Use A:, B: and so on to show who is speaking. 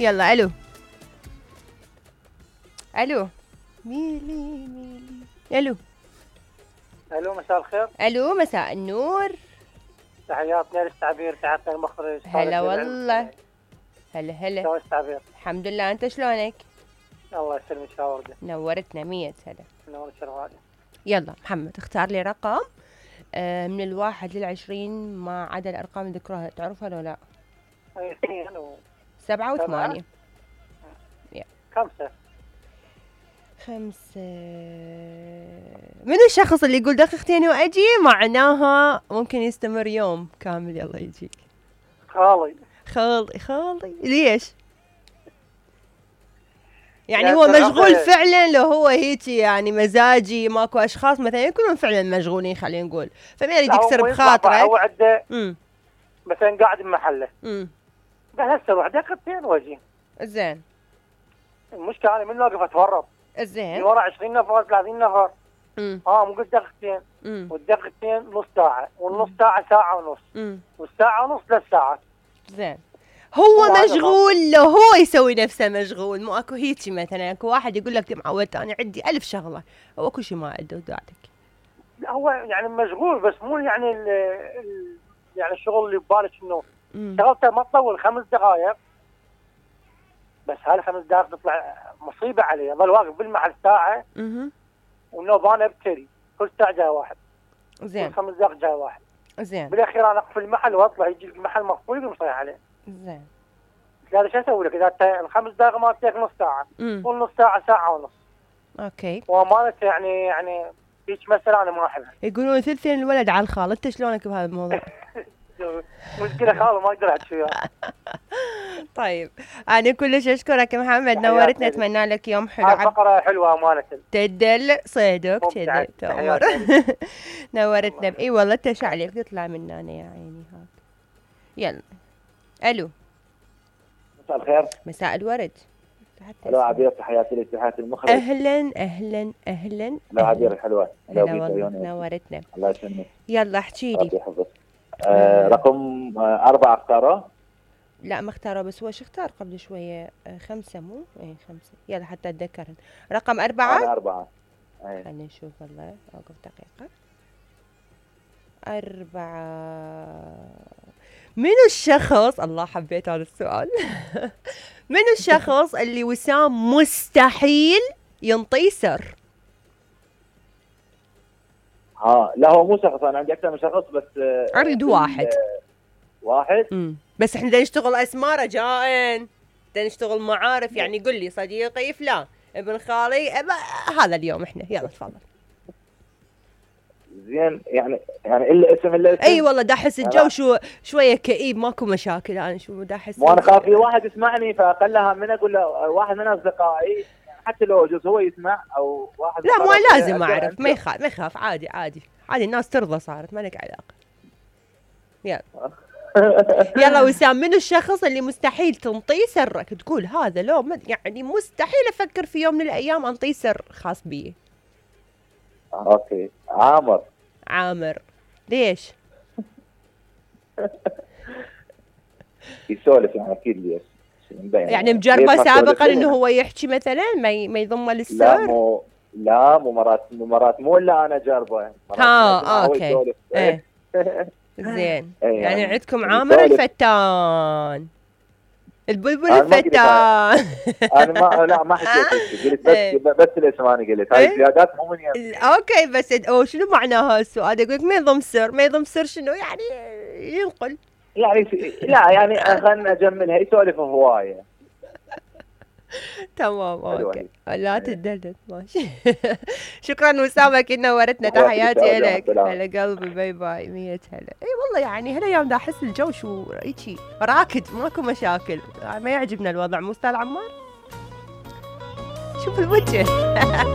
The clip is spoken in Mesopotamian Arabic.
A: يلا الو الو ميلي الو
B: الو مساء الخير.
A: الو مساء النور.
B: تحياتنا للتعبير، تحياتنا المخرج.
A: هلا والله. هلا
B: شلون التعبير؟
A: الحمد لله، انت شلونك؟
B: الله يسلمك شاوردة.
A: نورتنا 100 هلا.
B: نورك شرفاني.
A: يلا محمد اختار لي رقم من 1 ل20 ما عدا الارقام اللي ذكروها، تعرفها لو لا؟
B: 2
A: 7 و8.
B: 5.
A: من الشخص اللي يقول دقيقتين واجي معناها ممكن يستمر يوم كامل؟ يلا يجيك. خالي ليش؟ يعني هو مشغول فعلا؟ لو هو هيك يعني مزاجي، ماكو اشخاص مثلا يكونون فعلا مشغولين خلينا نقول، فما يريد يكسر بخاطرك.
B: هو عنده مثلا قاعد بمحله قال هسه روح دقيقتين واجي.
A: زين.
B: المشكله انا من واقف اتفرج.
A: زين.
B: من ورا 20 نفر 30 نفر. مو قلت دقيقتين. والدقيقتين نص ساعه، والنص ساعه ساعه ونص. والساعه ونص 3 ساعات.
A: زين. هو مشغول، لو هو يسوي نفسه مشغول، مو اكو هيجي مثلا اكو واحد يقول لك معودت انا عندي 1000 شغله، هو كل شيء ما عنده وداعتك.
B: لا هو يعني مشغول بس مو يعني يعني الشغل اللي ببالك انه شغلته ما تطول 5 دقائق بس. هاي 5 دقائق تطلع مصيبه عليه، ظل واقف بالمحل ساعه والنوبانه ابتري كل ساعه جاي واحد.
A: زين.
B: كل 5 دقائق جاي واحد.
A: زين.
B: بالاخير انا اقفل المحل واطلع، يجي المحل مقفول يقوم صيح عليه.
A: زين.
B: هذا شو اسوي لك اذا ال5 دقائق ما تجيك نص ساعه والنص ساعه ساعه ونص.
A: اوكي.
B: وامانه يعني هيك مساله انا ما احبها.
A: يقولون ثلثين الولد على الخال، انت شلونك بهذا الموضوع؟
B: مشكله خاله ما اقدر احكي وياه.
A: طيب انا كلش اشكرك محمد، نورتنا، اتمنى لك يوم حلو.
B: فقره حلوه امانه.
A: تدل صيدك كذا تأمر. نورتنا. اي والله تشعلك تطلع من هنا يا عيني هاك. يلا الو
B: مساء الخير.
A: مساء الورد.
C: الو عبير، تحياتي لك، تحياتي المخرج.
A: اهلا.
C: الو عبير الحلوه.
A: نورتنا.
C: الله يسلمك.
A: يلا احكي لي.
C: رقم 4 اختاره؟
A: لا ما اختاره، بس هو شو اختار قبل شويه 5 مو؟ ايه 5. يلا حتى اتذكرن. رقم 4.
C: أنا 4.
A: خلينا نشوف والله، اوقف دقيقه. 4. منو الشخص، الله حبيت هذا السؤال. منو الشخص اللي وسام مستحيل ينطيه سر؟
C: لا هو مو شخص، انا عندي اكثر من شخص بس
A: اريد واحد. بس احنا بدنا نشتغل اسماء رجاء، بدنا نشتغل معارف، يعني قل لي صديقي فلان، ابن خالي، هذا اليوم احنا. يلا تفضل.
C: زين. يعني الاسم
A: اي والله دا احس الجو شويه كئيب، ماكو مشاكل. انا شو دا احس،
C: وانا خاف في واحد يسمعني فاقلها من اقول له واحد من اصدقائي، حتى لو يجوز هو يسمع او واحد.
A: لا مو لازم اعرف، ما يخاف عادي الناس ترضى، صارت ما لك علاقه. يلا. يلا وسام، منو الشخص اللي مستحيل تنطيه سرك، تقول هذا لو يعني مستحيل افكر في يوم من الايام انطيه سر خاص بي؟
C: اوكي. عامر.
A: ليش؟
C: يسولف يعني اكيد ليش.
A: يعني مجربه سابقا انه هو يحكي مثلا ما يضمه للسر؟
C: لا مو مرات مو الا انا جربه.
A: اوكي. زين. يعني عندكم عامر الفتان، البلبل الفتان.
C: انا ما حكيت، قلت بس الاسم، انا قلت هاي زيادات مو من يمي.
A: اوكي بس شنو معناها السؤال؟ يقول لك ما يضم سر شنو يعني؟ ينقل
C: يعني لا يعني خلنا نجملها، يسولف هوايه.
A: تمام اوكي. لا تدلل ماشي. شكرا وسام، اكيد نورتنا، تحياتي لك. هلا قلبي، باي باي. 100 هلا. اي والله يعني هالايام دا احس الجو شو هيجي راكد، ماكو مشاكل، ما يعجبنا الوضع، مو استاذ عمار؟ شوف الوجه.